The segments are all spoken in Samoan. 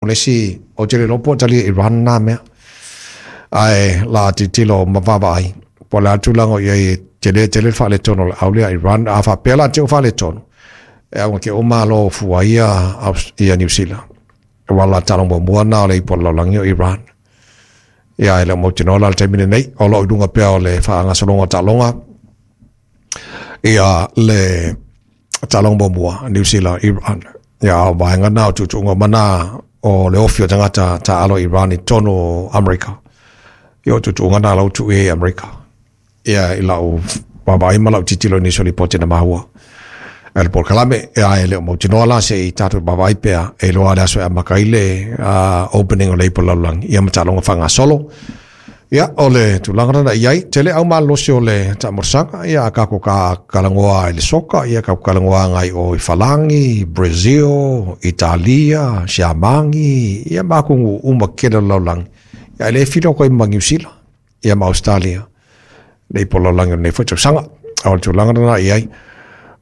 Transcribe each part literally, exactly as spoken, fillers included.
O le isi ou te le iloa po o talia Iran na mea, ae la tilotilo ma vaavaai po o le a le tulaga o i ai e tele tele le faaletonu o le au lea Iran. A faapea la te ua faaletonu, e auga ke o malo fua ia ia Niu Sila, aua o la taaloga muamua lena o le ipu o le lalolagi o Iran. Ia e le o mautinoa la le taimi lenei, o lo o i luga pea o le faagasologa o taaloga ia le taaloga muamua Niu Sila Iran. Ia o vaega na o tuutuuga uma na o le ofi o tagata taaalo Iran i totonu o Amerika. Ia o tuutuuga na lau tuu i Amerika. Ia i lau vaavaai ma lau tilotilo i nisi o lipoti na maua e le polokalame, ia e le o mautinoa la se i tatou vaavaai pea e iloa le aso e amata ai le uh, opening o le ipu o le lalolagi ia ma taaloga faagasolo. Ia, o le tulaga lena i ai, tele au malolosi o le taamolosaga, ia a kako ka kalagoa i le soka, ia ka kalagoa ngai o i Falangi, Brazil, Italia, Siamangi, ia makungu uma kele o le lalolagi. Ia e le filo koe ma Niu Sila, ia ma Australia, le ipu o le lalolagi o lenei foi tausaga. O le tulaga lena i ai,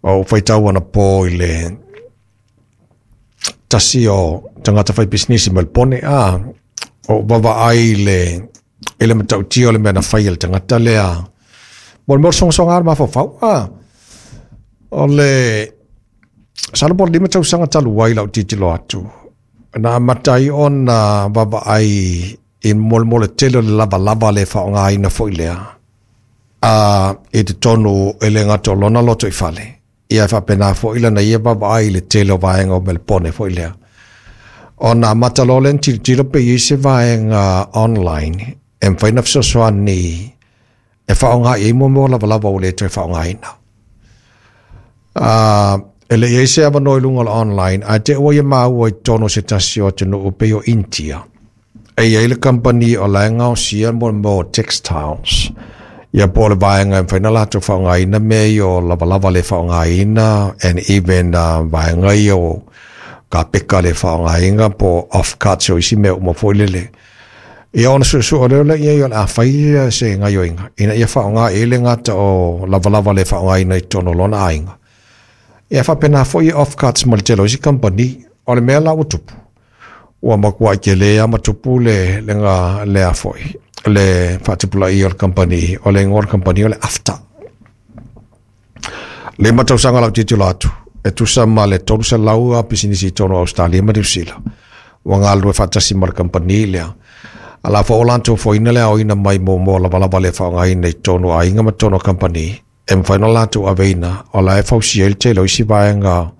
o faitau ana po i le tasi o tagata fai pisinisi ma le pone, a o vaavaai le i le matautia o le mea na fai e le tagata lea. Mo le mea o le sogasoga o le mafaufau, a o le masalo po o le lima tausaga talu ai lau tilotilo atu, na amata ai ona vaavaai i molemole tele o le lavalava le faaaogaina foi lea a i totonu e le gata o lona loto i fale, ia e faapena foi lana ia vaavaai i le tele o vaega o Melepone foi lea. Ona amata loa lea ona tilotilo pe i ai se vaega online e mafai ona fesoasoani e faaaoga i ai mo mea o lavalava ua le toe faaaogaina. Uh, e le i ai se avanoa i luga o le online, ae te ua ia maua i totonu o se tasi o atunuu pei o Intia. E i ai le company o la e gaosia mo le mea o textiles. Ia po o le vaega e mafai ona latou faaaogaina mea ia o lavalava le faaaogaina and even uh, vaega ia o kapeka le faaaogaina po o offcuts o isi mea uma foi lele. Ia ona suesue lea lea i ai o le a fai se gaioiga ina ia faaaoga i ai le gata o lavalava le faaaogaina i totonu o lona aiga. Ia faapena foi offcuts ma le tele o isi company. O le mea la ua tupu, ua matuai tele lava ma tupu le le ga lea foi le faatupulaia o le company. O le igoa o le company o le AFTA. Lima tausaga lau tilotilo atu, e tusa ma le tolu selau a pisinisi i totonu o Australia ma Niu Sila ua galulue faatasi ma le company lea. A la foi o latou foina le aoina mai mo mo lavalava le faaaogaina i totonu o aiga ma totonu o company e mafai ona latou aveina, o la e fausia ai le tele o isi vaega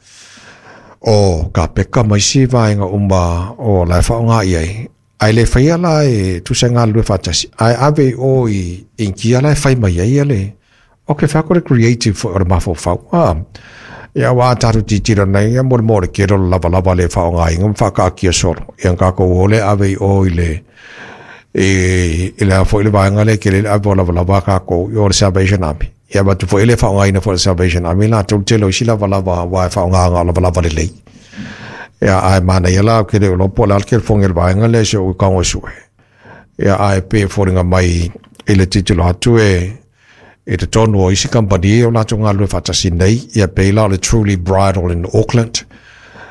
o kapeka ma isi vaega uma o la e faaaoga i ai. Ae le faia la e tusa e galulue faatasi, ae ave i o i Initia la e fai mai ai le o ke whako le creative foi o le mafaufau. Ah, ia aua a tatou tilotilo nei ia mo le mo le tele o le lavalava le faaaogaina ma faakaatia solo. Ia tatou o le ave i o i le i, i le foi le vaega le tele le ave o lavalava a tatou i o le Salvation Army. Ia avatu foi le faaaogaina foi le Salvation Army latou tele o isi lavalava aua e faaaogaina o lavalava lelei. Ia ae manaia la ke le iloa po o le a le telefoni a le vaega lea se o tago e sue. Ia ae pei e foliga mai i le tilotilo atu e i totonu o isi company o latou galulue faatasi nei, ia pei la o le Truly Bridal in Auckland.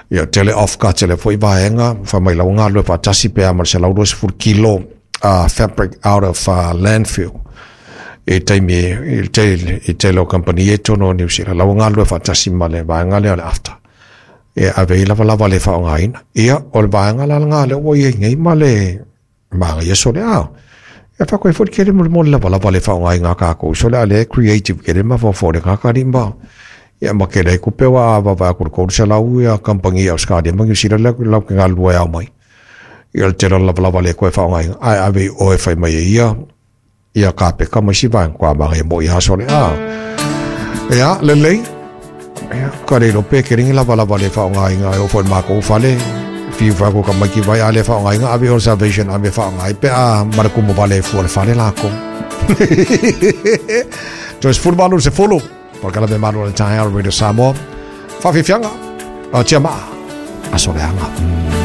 Ia tele offcuts le foi vaega, fai mai la ua galulue faatasi pe a ma le selau luasefulu kilo uh, fabric out of uh, landfill. I taimi i le tele i tele o company e totonu o Niu Sila, la ua galulue faatasi ma le vaega lea o le AFTA. E ave i lavalava le faaaogaina. Ia, o le vaega la lena lea ua i ai nei ma le magaia sole a. E whako e fori kere mo le mo le lavalava le faaaogaina a kākou. So le a le creative kere ma fofo le kakari ma. Ia ma kere e kupe wa a wawa aku le kolu selau ia company i Australia ma Niu Sila le lau ke galulue au mai. Ia le tele o le lavalava le koe faaaogaina. Ae ave i oe fai mai e ia ia kapeka ma isi vaega kua maga e mo i aso le a. Ia, lelei. Ia, ka le pe ke ringi lavalava le faaaogaina e o foi le mākou fale. Fiu whako ka mai ki vai a le whaongainga ave o Salvation ave whaongai pe a mara kumu vale fua le fale lako. Toe sefulu malu se fulu. Polokalame malu o le taeao Radio Samoa. Whawhiwhianga. O tia maa. Aso leaga.